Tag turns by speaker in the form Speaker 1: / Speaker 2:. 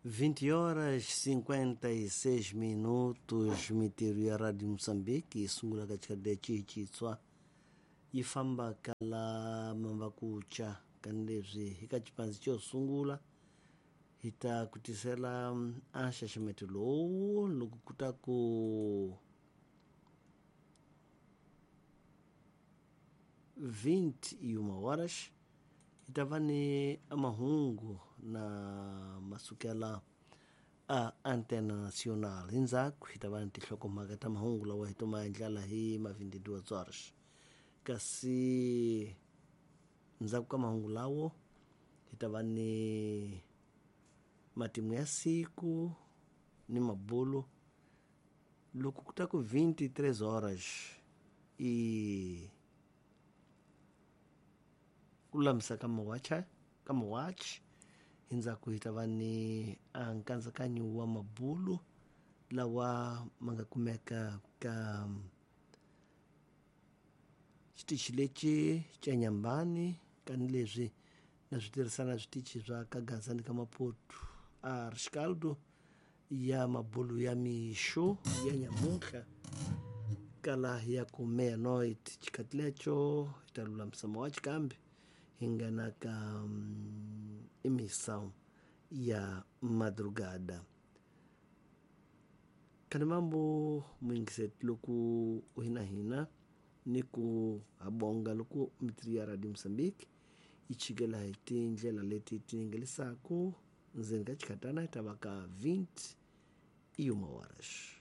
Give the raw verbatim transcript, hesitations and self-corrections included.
Speaker 1: vinte horas cinquenta e seis minutos, mintirho ya Radio Moçambique yi sungula ka xikhati xitswa yi famba ka la Mambakucha kanileswi hi ka xipandzhi xo sungula hi ta ku tisela a nxaxameto lowu loko ku ta ku vinte e uma horas hi ta va ni mahungu na masukela a Antena Nacional. Hi ndzhaku hi ta va ni tinhlokomhaka ta mahungu lawa hi to ma endlela hi ma vinte e duas horas. Kasi ndzhaku ka mahungu lawo hi ta va ni matimu ya siku ni mabulo loko ku ta ku vinte e três horas i ku lulamisa ka mawacha ka mawachi. Hi ndzhaku hi ta va ni a nkatsakanyo wa mabulo lawa ma nga kumeka ka xitichi lexi xa Nyambani kanileswi na swi tirhisana switichi swa ka Gaza ni ka Maputo a Rescaldo ya mabulo ya mixo ya nyamuntlha kala ya ku meia-noite. Xikhathi lexo hi ta lulamisa mawachi kambe hi nghena ka um, emissão ya madrugada. Khani mambo muyingiseti loko u hina hina ni ku habonga loko mintirho ya Radio Moçambique yi chikela hi tindlela leti ti ningelisaka ndzeni ka xikhatana hi ta va ka vinte e uma horas.